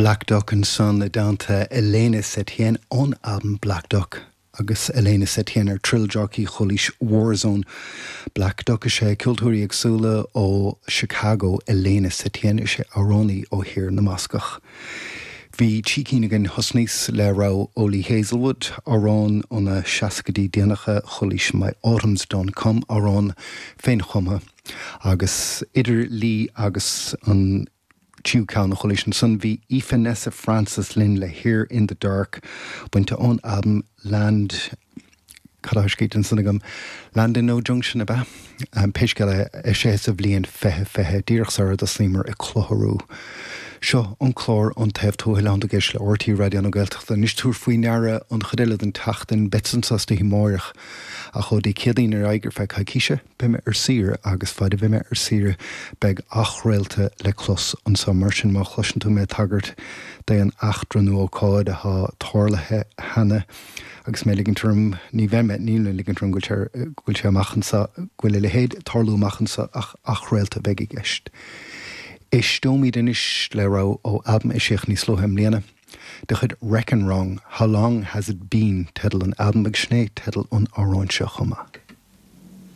Black Duck ansan i dteannta Elena Setien ón albam Black Duck agus Elena Setien ar Trill Jockey Chualaís Warzone. Black Duck is ea ceoltóirí éagsúla ó Chicago, Elena Setien is ea amhránaí ó Thír na mBascach. Bhí trí cinn againn thosnaíos le rogha ó Lee Hazlewood, amhrán ó na seascaidí déanacha, chualaís My Autumn's Done Come, amhrán féinchumtha, agus idir Lee agus an tríú ceann a chualaís ansan bhí Aoife Nessa Frances linn le Here in the Dark, bainte ón albam Land. Cad atá scríte ansan agam? Land in No Junction, ab ea? Pé scéal é, eisithe sa bhliain 2020, díreach sar a dtosnaíomar ag clutharú. Seo an clár An Taobh Tuathail ann ag éisteacht le RTÉ Raidió na Gaeltachta. Anois tabhair faoi ndeara an chuid eile den tseachtain, beadsa anso istoíche amáireach, ach ó Dé Céadaoin ar aghaidh ar feadh coicíse, beidh mé ar saoire agus faid a bheidh mé ar saoire beidh athchraolta le clos anso. Mar sin má chloiseann tú mé ag tagairt d'aon eachtra nó ócáid athá tarlaithe cheana, Agus mé ag ligint orm, ní bheidh mé, níl mé ag ligint orm go bhfuil sé, go bhfuil sé amach anso, go bhfuil a leithéid ag tarlú amach anso ach athchraolta a bheidh i gceist. Éisteoimid anois le rogha ó albam a eisíodh níos luaithe i mbliana de chuid Reckon Wrong, How Long Has It Been teideal an albaim agus sin é teideal an amhráin seo chomh maith.